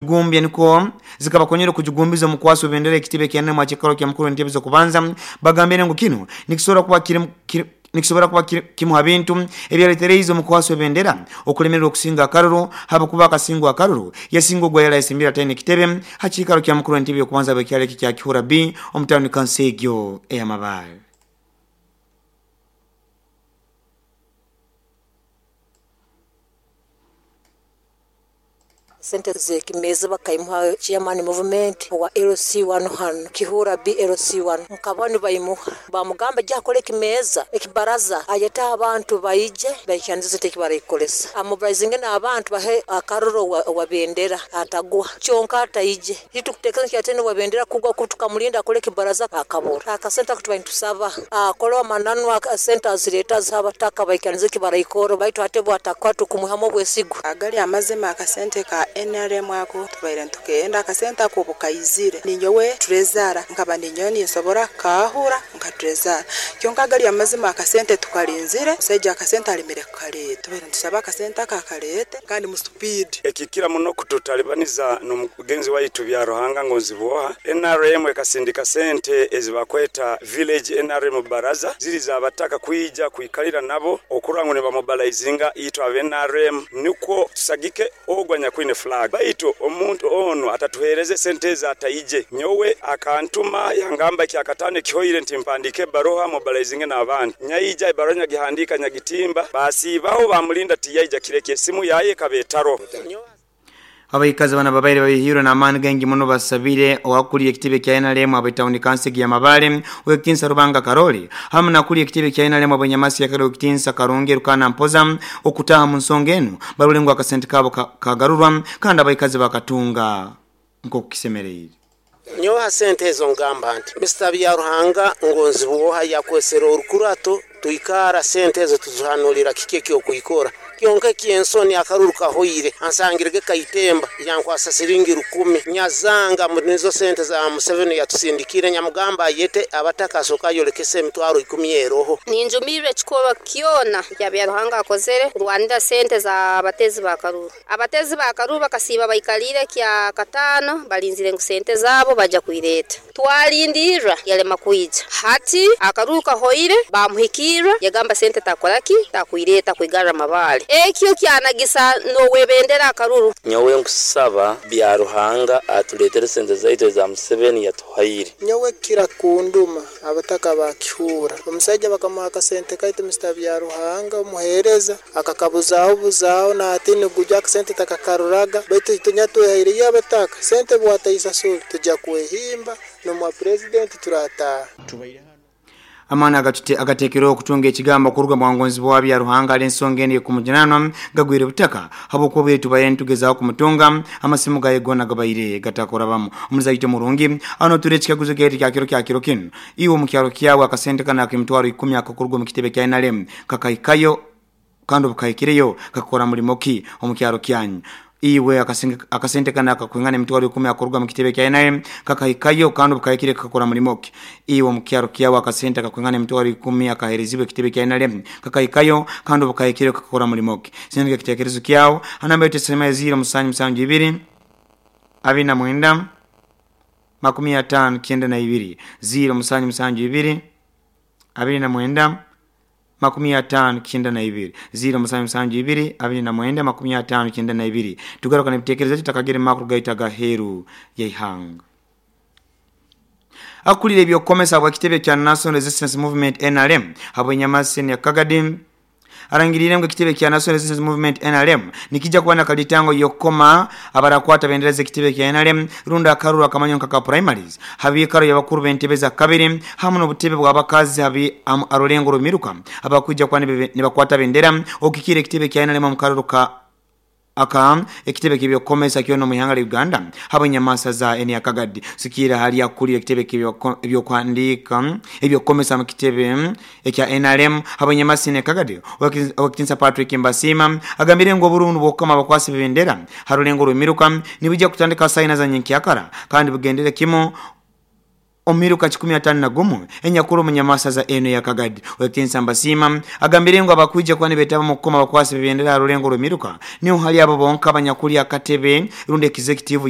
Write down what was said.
Gumbya niko zikabakonyera kujugumbiza omukwasi w'ebendera ekitebe kya NRM akikaro kya mukuru w'entebe z'okubanza. Bagambire ngu kinu nikisobora kuba nikisobora kuba kimu ha bintu ebyaletereize omukwasi w'ebendera okulemererwa okusinga akaruru, habwokuba akasingwa akaruru yasinga ogwa yali ayesimbire ataine ekitebe ha kiikaro kya mukuru w'entebe y'okubanza bw'ekyaro eki kya Kihura B omu tawuni kanso egyo ey'Amabaale. Sente zekimeza bakaimuha chairman movement wa LC1 hano Kihura B LC1, nkaba nibaimuha bamugamba jya akole ekimeza ekibaraza, ayete abantu baije baikanize sente ekibaraikolesa, amobilizinge n'abantu bahe akaruro wa bendera atagwa kyonka ataije itukutekereza kyatene wa bendera kugwa kutukamulinda akole ekibaraza akabura akasente ako tuba nitusaba akole amananu akasente azireta abataka baikanize ekibaraikoro baitu ate bwatakwa tukumuhamu obwesigwa. Agali amazima akasente ka NRM ako tubaire ntukenda akasente ako bukaizire ninyowe trezara nkaba ninyowe ninsobora kahura nka trezara, kyonka agali amazima akasente tukalinzire musaija akasente alimire kukaleta, tubaire ntusaba akasente aka akalete kandi mu speed. Ekikira muno kututalibaniza n'omugenzi waitu bya Ruhanga ngonzibwoha, NRM ekasindika sente ezibakweta village NRM baraza ziri zabataka kwija kwikalira nabo okurora ngu nibamobilizinga itwe aba NRM nikwo tusagike ogwa nyakwine flag, baitu omuntu ono atatuhereze sente ezi ataije. Nyowe akantuma yangamba ekyakatano ekihoire nti mpandike ebaruha mobilizinge n'abantu, nyaija ebaruha nyagihandika nyagitimba, basiibaho bamulinda tiyaija kireke esimu yaye ekaba etaro. Abaikazi bana babaire babihirwe n'amaani gaingi muno basabire owakuliye ekitebe kya NRM ab'etawuni kanso ya Mabaale Owekitinsa Rubanga Karoli hamu nakuliye ekitebe kya NRM ab'enyamasi ya Karoli Owekitinsa Karungi Rukana Mpoza okutaha mu nsonga enu barole ngu akasente kabo kagarurwa kandi abaikazi bakatunga nk'okukisemereire. Nyowe sente ezo ngamba nti Mr. Byaruhanga ngonzibwoha yakwesera orukurato tuikara sente ezo tuzihanulira kiki ekyokwikora kyonka ekyensoni akaruru kahoire ansangirege kaitemba yankwasa siringi 10 nyazanga nizo sente za Museveni yatusindikire nyamugamba ayete abataka asoka yolekese emitwaro 10 eroho. Ninjumirwe ekikorwa kyona kya Byaruhanga akozere kurwanira sente za abatezi ba karuru. Abatezi ba karuru bakasiiba baikalire kya katano balinzire ngu sente zabo baja kuireta, twalindirra yalema kwija. Hati akaruru kahoire bamuhikirra yagamba sente takoraki takuireta kuigarra Mabaale, ekyo kyanagisa nowebendera akaruru. Nyowe nkusaba Byaruhanga atuletere sente zaitu za Museveni yatuhaire. Nyowe kira kunduma abataka bakihura omusajja bakamuha akasente kaitu Mr. Byaruhanga omuhereza akakabuzaho buzaho natini gujya akasente takakaruraga, baitu tunyatwehaire abataka sente bwataisasura tujya kwehimba nomwa president turataha. Amana agatekereho okutunga ekigambo kuruga mu bwangonzi bwa Byaruhanga ali ensonga eno ekumujunanwa gagwire butaka habwokuba bwe tubaire nitugezaho kumutunga amasimu gaye gona gabaire gatakorabamu. Omuzaito murungi ano ture ekikaguzo kyaitu kya kiro kya kiro kinu, iwe omu kyaro kyawe akasente kana ak'emitwaro 10 akakuruga omu kitebe kya NRM kakaikayo kandi obukaikireyo kakakora mulimo ki omu kyaro kyanyu? Iwe akasente kana akakwingana emitwaro 10 akaruga mu kitebe kya NRM kakaikayo kandi obukahikire kakakora mulimo ki? Iwe mu kyaro kyawe akasente akakwingana emitwaro 10 akaherezibwa ekitebe kya NRM kakaikayo kandi obukahikire kakakora mulimo ki? Sindika ekitekerezo kyawe anamba yetu esema 072 29 50 92 072 29 50 92 072 29 50 92. Tugaruka n'ebitekerezo tutakagire makuru gaita gaheru yaihanga. Akulira ebyokukomesa bwa kitebe kya National Resistance Movement NRM habwenyamasi ya Kagadi arangirire ngu ekitebe kya National Resistance Movement NRM nikijja kuba nakalitango yokoma abarakwata bendera z'ekitebe kya NRM runda akaruru akamanyo nkaka primaries habikaro y'abakuru b'entebe za kabiri hamu n'obutebe bw'abakazi habi arulengo rumiruka abakwijja kuba nibakwata bendera okikira ekitebe kya NRM mu karuru ka aka ekitebe kibyokomesa kyono mu ihanga lya Uganda habwenyamasa za eni Kagadi. Sikira hali akulira ekitebe ebyokwandika ebyokomesa mu kitebe ekya NRM habwenyamasa eni Kagadi Owekitinsa Patrick Mbasima agambire ngo oburundu bwokama bakwasi bendera harulengo rumiruka nibujja kutandika saina za nyenkyakara kandi bugendere kimo omiruka 51 enyakuru munyamasa za eno ya Kagadi. Owekitinsa Mbasima agambire ngo abakwija kuba nibetaba mu kukoma bakwasi bendera harulengo rumiruka niho hali abo bonka abanyakuli akatebe rundi executive.